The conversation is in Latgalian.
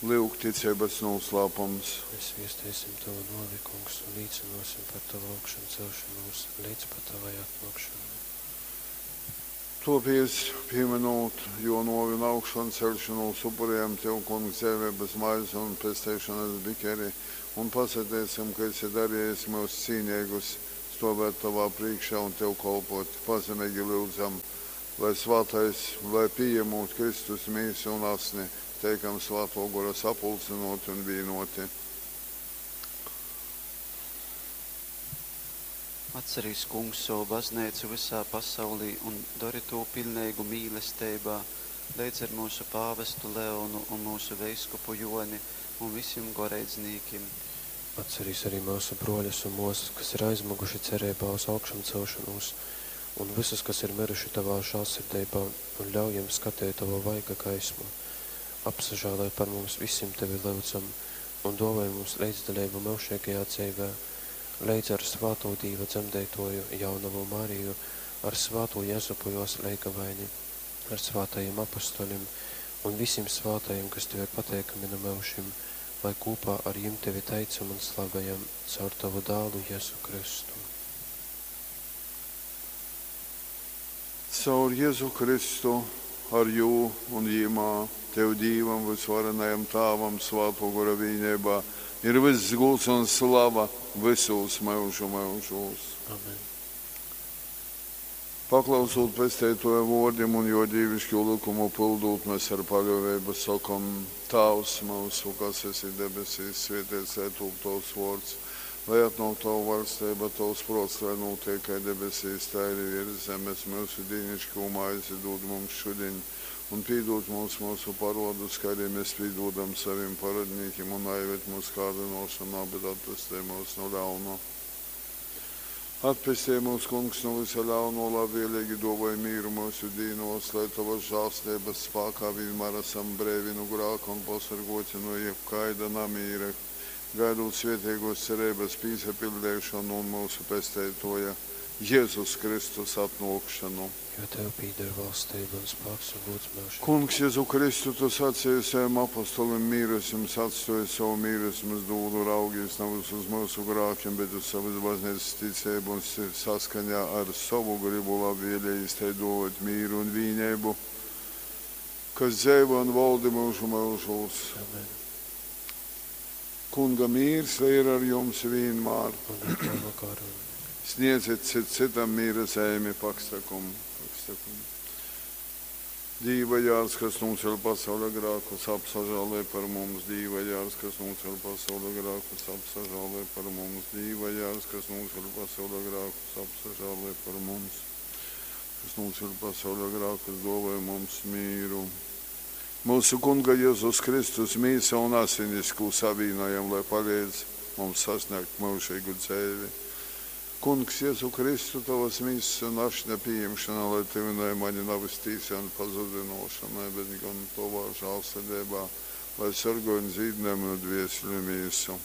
Lyuk, ticeibas nūslāpums. Mēs viesteisim Tovu nōvi, Kungs, un līcynōsim par Tovu augšancelšonūs leidz pat Tovai atnōkšonai. Tōpēc, pīmynūt Jō nōvi un augšanceļšonūs, upurejam Tev, Kungs, dzeiveibas maizi un pesteišonas bikeri un pasateicam, ka esi darejis myus cīneigus stōvēt Tovā prīškā un Tev kolpōt. Pazemeigi lyudzam, lai svātais, lai pījemūt Kristus mīsu un asni, teikam Svātō Gora sapulcynōti un vīnōti. Atcerīs, Kungs, sovu bazneicu vysā pasaulī un dori tū piļneigu mīlesteibā, leidz ar myusu pāvestu Leonu un myusu veiskupu Jōni un vysim goreidznīkim. Atcerīs arī myusu brōļus un mōsas, kas ir aizmyguši cereibā uz augšamcelšonūs, un vysus, kas ir myruši Tovā žālsirdeibā, un ļauj jim skateit Tova vaiga gaismu. Apsažāloj par mums vysim, Tevi lyudzam, un dōvoj mums leidzdaleibu myužeigajā dzeivē, leidz ar svātū Dīva dzemdeitōju jaunovu Mariju, ar svātū Jezupu jōs leigavaini, ar svātajim apostolim un vysim svātajim, kas Tev ir pateikami nu myužim, lai kūpā ar jim Tevi teicam un slavejam caur Tovu dālu Jezu Kristu. Caur Jezu Kristu, ar Jū un Jymā, Tev Dīvam vysvarenajam Tāvam Svātō Gora vīneibā ir vyss gūds un slava vysūs myužu myužūs. Amen. Paklausūt Pesteitōja vōrdim un Jō dīviškū lykumu pyldūt, mēs ar paļōveibu sokom: Tāvs myusu, kas esi debesīs, svēteits lai tūp Tovs vōrds, lai atnōk Tova vaļsteiba, Tovs prōts, lai nūteik kai debesīs, tai arī virs zemes. Myusu dīniškū maizi dūd mums šudiņ, un pīdūd mums myusu parōdus, kai arī mēs pīdūdam savim parōdnīkim, un naived mūsu kārdynōšanā, bet atpestej myus nu ļauna. Atpestej mūs, Kungs, nu vysa ļauno, labvēlīgi dōvoj mīru myusu dīnos, lai Tovas žēlsteibas spākā vienmēr esam breivi nu grāka un pasorgoti no jebkaida namīra, gaidot svētīgos cerības pīsapildeišanu un mūsu pesteitoja Jēzus Kristus atnōkšanu. Jo Tev pīder valstība un spāks un gods myužīgi. Kungs, Jezu Kristu, Tu sacīji saviem apostolim, mīru es jums atstoju, savu mīru es jums dūdu, raugīs nevis uz mūsu grākiem, bet uz savas baznīcas ticību un saskaņā ar savu gribu labvēlējis tai dot mīru un vīnību, kas dzeivo un valdi mūžu mūžos. Amen. Kunga mīrs, lai ir ar jums vienmēr. Un ar Tavu garu. Sniedziet cit citam mīra zeimi pakstakum, pakstakum. Dīva jārs, kas nūceļ pasaules grākus, apsažālē par mums. Dīva jārs, kas nūceļ pasaules grākus, apsažālē par mums. Dīva jārs, kas nūceļ pasaules grākus, apsažālē par mums. Kas nūceļ pasaules grākus, dāvāj mums mīru. Mūsu Kunga Jēzus Kristus mīsa un asinis, ko savīnojam, lai palīdz mums sasniegt mūžīgu dzīvi. Kungs, Jēzu Kristu, Tavas mīsas un ašņa pieņemšana, lai tuvināja mani nevis tīsai un pazudinošanai, bet gan Tavā žālsirdībā, lai sargāj un dzīdināj manu dvēseli mīsu.